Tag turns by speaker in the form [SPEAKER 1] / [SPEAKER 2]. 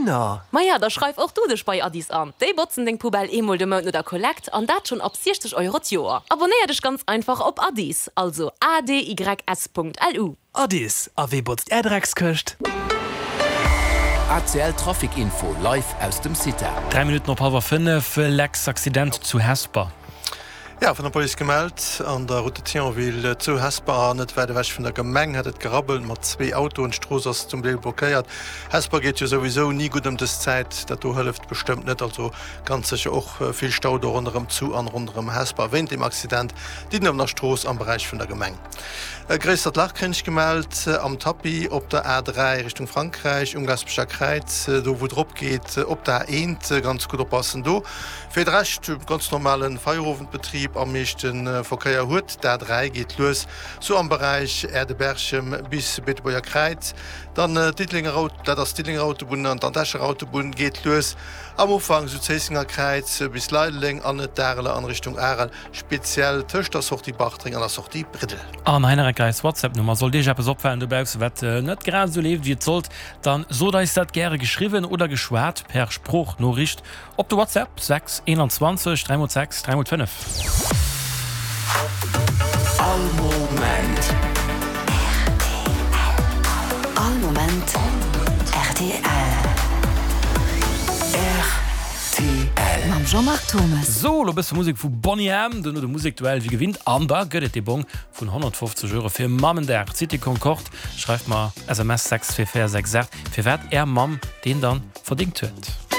[SPEAKER 1] Dohinner!
[SPEAKER 2] Maja, da schreif och du dech bei Adys an. Déi botzen deng Poubelle eemol de Mount no der Kollekt an dat schonn ab 60 Euro d'Joer. Abonéier dech ganz einfach op Adys, also adys.lu.
[SPEAKER 1] Adys, a wee botzt är Dreckskëscht?
[SPEAKER 3] ACL Trafic Info live aus dem CITA.
[SPEAKER 4] 3 Minutten op hallwer 5, Lex Accident zu Hesper.
[SPEAKER 5] Jo, vun der Police gemellt, An der Route de Thionville zu Hesper, net wäit ewech vun der Gemeng, hätt et gerabbelt mat zwee Autoen. D'Strooss ass zum Deel blockéiert. Hesper geet jo souwisou ni gutt ëm dës Zäit, dat do hëlleft bestëmmt net. Also ganz sécher och vill Stau do ronderëm zu an ronderëm Hesper wéint deem Accident. Diddenener Strooss am Beräich vun der Gemeng. E gréissert Lach kréint ech gemellt am Tapis op der A3 Richtung Frankräich um Gaspecher Kräiz, do wou et rop geet op der A1. Ganz gutt oppassen do. Fir de Rescht ganz normalen Feierowendbetrib. Am meeschten Verkéier huet d'A3, geet lues sou am Beräich Äerde-Berchem bis Beetebuerger Kräiz. Dann d'Diddelenger, dat ass d'Diddelenger Autobunn an dann d'Escher Autobunn geet lues am Ufank sou Zéissenger Kräiz bis Leideleng an d'Areler an Richtung Arel. Speziell tëscht der Sortie Bartreng an der Sortie Briddel.
[SPEAKER 4] An hei nach eng Kéier eis WhatsApp-Nummer. Sollt Iech eppes opfalen dobausse wat net grad esou leeft wéi et sollt, dann sot eis dat gäre geschriwwen oder geschwat per Sproochnoriicht op de WhatsApp 6 21 3 x 6 3 x 5.
[SPEAKER 3] All Moment.
[SPEAKER 6] Rtl. All Moment rtl.
[SPEAKER 3] Rtl.
[SPEAKER 6] Mam Jean-Marc Thomes.
[SPEAKER 4] Sou, lo bësse Musek vu Boney M, duerno de Musekduell wéi gewinnt an da gëtt et dee Bong vun 150 Euro fir Mammendag. D'Cité Concorde schreift mer SMS 64468 firwat är Mamm deen dann verdéngt huet.